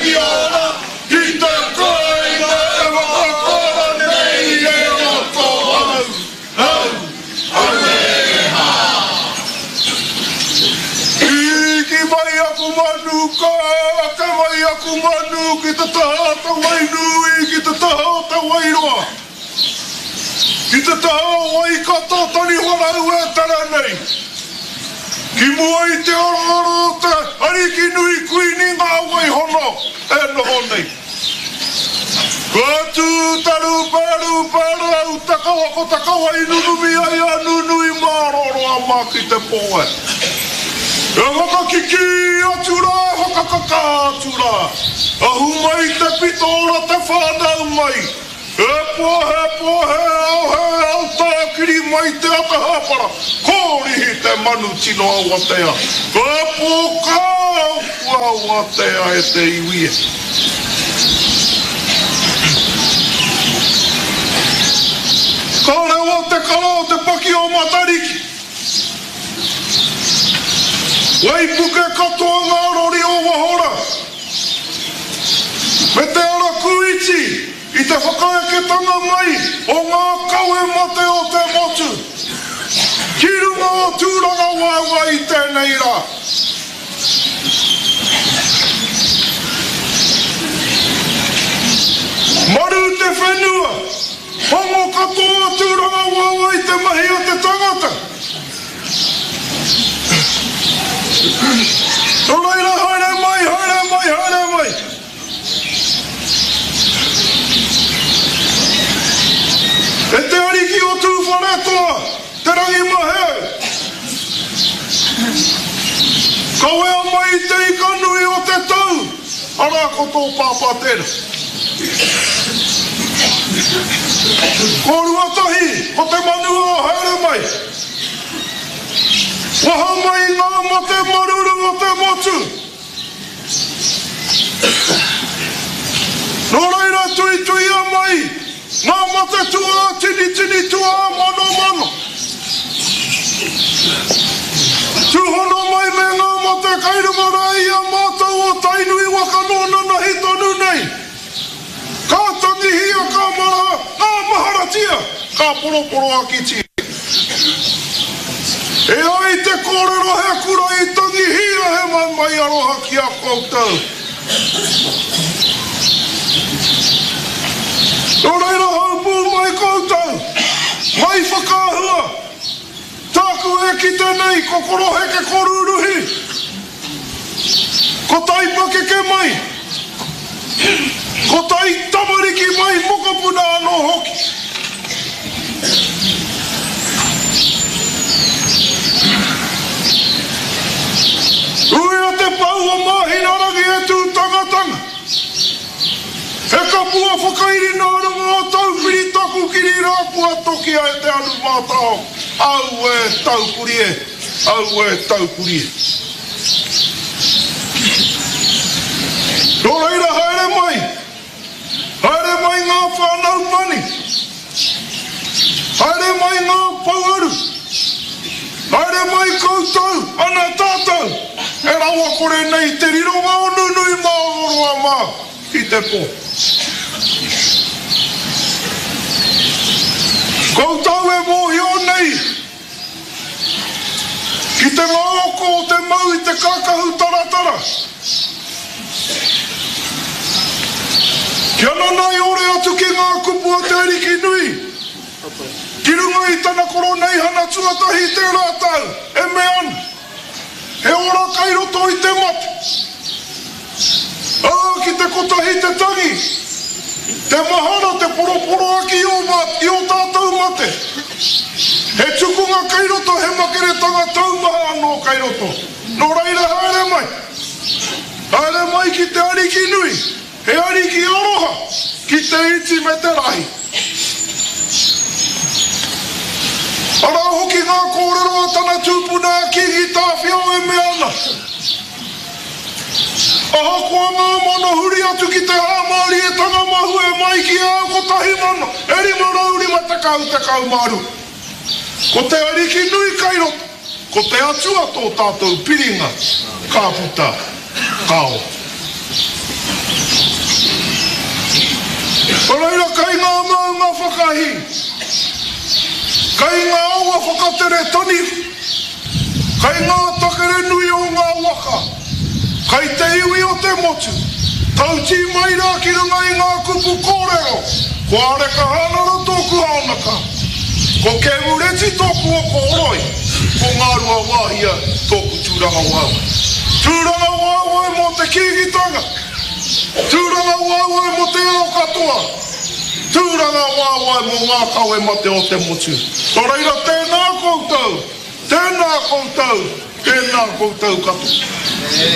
hoki ana ki te kāinga e whakakora nei e roto au, au, auē hā. Hiki mai aku manu, ka ake mai aku manu ki te taha o te Wainui, ki te taha o te Wairoa, ki te taha o Waikato taniwharau e tere nei. Ki mua i te aroaro o te Arikinui Kuini Ngā Waihono e noho nei. Kua tū te rūpērūpē rau takawa ko te kawa i nunumi ai a Nunui Māroroa mā ki te pō e. E whakakikī atu rā, e whakakakā atu rā. Ahu mai te pito ora te whānau mai. He pō, he pō, he ao, he ao tākiri mai te ata hāpara, kōrihi te manu tino awatea, ka pō ka ao kua awatea e te iwi e. Ka rewa te kara o te paki o Matariki. Waipuke katoa ngā rori o waho rā. Me te ara kūiti i te whakaeketanga mai o ngā kawe mate o te motu ki runga o Tūrangawaewae i tēnei rā. Maru te whenua, hongo katoa Tūrangawaewae i te mahi a te tangata. Nō reira, haere mai, haere mai, haere mai. E te Ariki o Tūwharetoa, Te Rangimaheu, kawea mai i te ika nui o te tau, arā ko tō pāpā tērā. Ko Ruatahi, ko te manu o haere mai. Waha mai i ngā mate maruru o te motu. Nō reira tuituia mai ngā mate tuā tinitini tuā manomano. Tūhono mai me ngā mate kai runga rā i a mātou o Tainui waka nō nanahi tonu nei. Ka tangihia, ka mara, ka maharatia, ka poroporoakitia. E ai te kōrero he kura i tangihia he maumai aroha ki a koutou. Nō reira haupū mai koutou, mai whakaahua, tāku e kite nei ko koroheke ko rūruhi. Ko tai pakeke mai, ko tai tamariki mai mokopuna anō hoki. Uia te pou o Māhinarangi e tū tangatanga. He kapua whakairi nā runga o Taupiri taku kiri rā kua tokia e te anu mātao. Auē taupuri e! Auē taupuri e! Nō reira haere mai, haere mai ngā whānau pani, haere mai ngā pouaru, haere mai koutou, ana tātou, e rawakore nei te rironga o Nunui mā o Roa mā ki te pō. Koutou e mōhio nei Ki te ngaoko o te mau i te kakahu taratara. Kia nanaiore atu ki ngā kupu a Te Arikinui, ki runga i tana koroneihana tuatahi i tērā tau, e mea ana, He ora kai roto i te mate. Ā, ki te kotahi te tangi, te mahara, te poroporoaki i ō, i ō tātou mate. He tukunga kei roto, he makeretanga taumaha anō kei roto. Nō reira haere mai. Haere mai ki te Ariki nui, he Ariki aroha, ki te iti me te rahi. Arā hoki ngā kōrero a tana tupuna a Kīngi Tāwhiao e mea ana, Ahakoa ngā mano huri atu ki te hāmārietanga mahue mai ki a au 1550 12. Ko te Ariki nui kai roto, ko te Atua tō tātou piringa, ka puta, ka ora. Kei ngā awa whakatere taniwha, kei ngā takere nui o ngā waka, kei te iwi o te motu, tautī mai rā ki runga i ngā kupu kōrero, ko Areka Hānara tōku haonaka, ko Kēmureti tōku oko horoi, ko Ngāruawāhia tōku tūrangawaewae. Tūrangawaewae mō te Kīngitanga, tūrangawaewae mō te ao katoa. Tūrangawaewae mō ngā kawe mate o te motu. Nō reira tēnā koutou, tēnā koutou, tēnā koutou katoa.